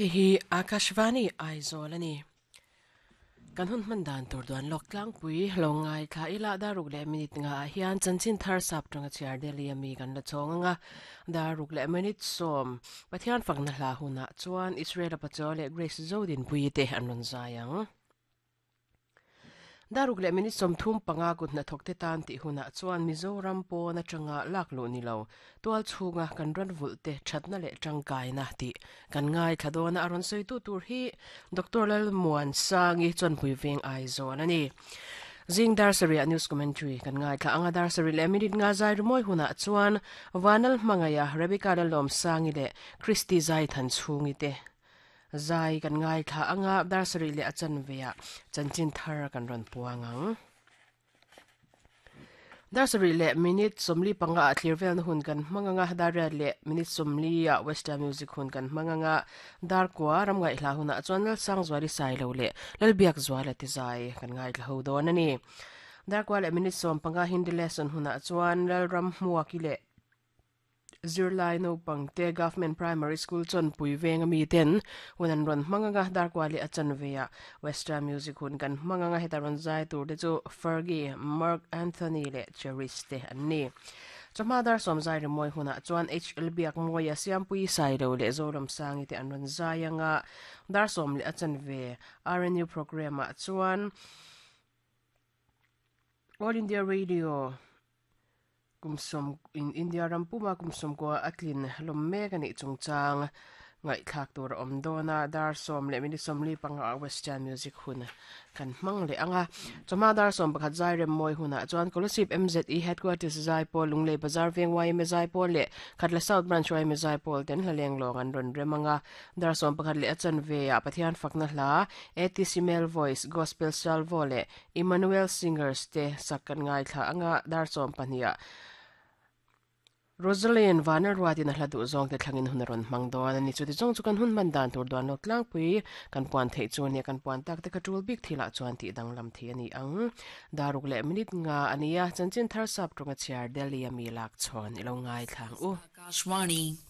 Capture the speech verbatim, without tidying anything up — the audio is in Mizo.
Hei hi Akashvani Aizawl ani. Kan hun hman dan tur duan lawk tlangpui lo ngai thla ila daruk leh minute nga ah hian chanchin thar sap tanga chhiar Delhi ami kan la chhawng anga daruk leh minute sawm Pathian fakna hla hunah chuan Israel Pachaw leh Grace Zodin pui te an rawn zai ang. Daruk leh minute sawm thum panga kut hnathawk te tan tih hunah chuan Mizoram pawn atanga lak luh ni lo tual chhunga kan ran vulh te thatna leh tangkaina tih kan ngai thla dawn a rawn sawi tu tur hi Doctor Lalmuan Sangi Chawnpui Veng Aizawl ani. Zing dar sarih news commentary kan ngai thla anga dar sarih leh minute nga zai rimawi hunah chuan Vanal Hmangaiha Rebecca Lalawm Sangi leh Christy Zai Than Chhungi te zai kan ngai thla anga dar sarih leh a chanve ah chanchin thar kan rawn puang ang. Dar sarih leh minute sawmli panga ah thlir velna hun kan hmang anga dar riat leh minute sawmli ah western music hun kan hmang anga dar kua ram ngai hla hunah chuan Lalsangzuali Sailo leh Lalbiak Zuala ti zai kan ngai thla ho dawn ani. Dar kua leh minute sawm panga Hindi lesson hunah chuan Lalram Hmuaki leh Zirlai naupangte Government Primary School Chawnpui Veng ami ten hun an rawn hmang anga dar kua leh a chanve ah western music hun kan hmang anga heta rawn zai tur te chu Fergie, Mark Anthony leh Cherish te an ni. Chawhma dar sawm zai rimawi hunah chuan H L Biak Mawia Siampui Sailo leh Zoram Sangi te an rawn zai anga dar sawm leh a chanve R N U program ah chuan All India Radio kumsawm in India rampuma kumsawm ko atlin lawm mek ani chungchang ngai thlak tur a awm dawn a dar sawm leh minute sawmli panga western music hun kan hmang leh anga chawhma dar sawm pakhat zai rem mawi hunah chuan Kolasib M Z E headquarters zai pawl Lunglei Bazar Veng Y M A zai pawl leh Khatla South Branch Y M A zai pawl ten hlaleng lawng an rawn rem anga dar sawm pakhat leh a chanve ah Pathian fakna hla A T C Male Voice Gospel Salvo leh Emmanuel Singers te sak kan ngai thla anga dar sawm pahnih ah Rosalind Vanal Ruatin a hla duh zawng te thlangin hun a rawn hmang dawn ani. Chuti zawng chu kan hun hman dan tur duan lawk tlangpui kan puan theih chu ania kan puan tak te kha tul bik thilah chuan tih danglam thei ani ang. Daruk leh minute nga ania chanchin thar sap tawnga chhiar Delhi ami lak chhawn ilo ngai thlang u. Akashvani.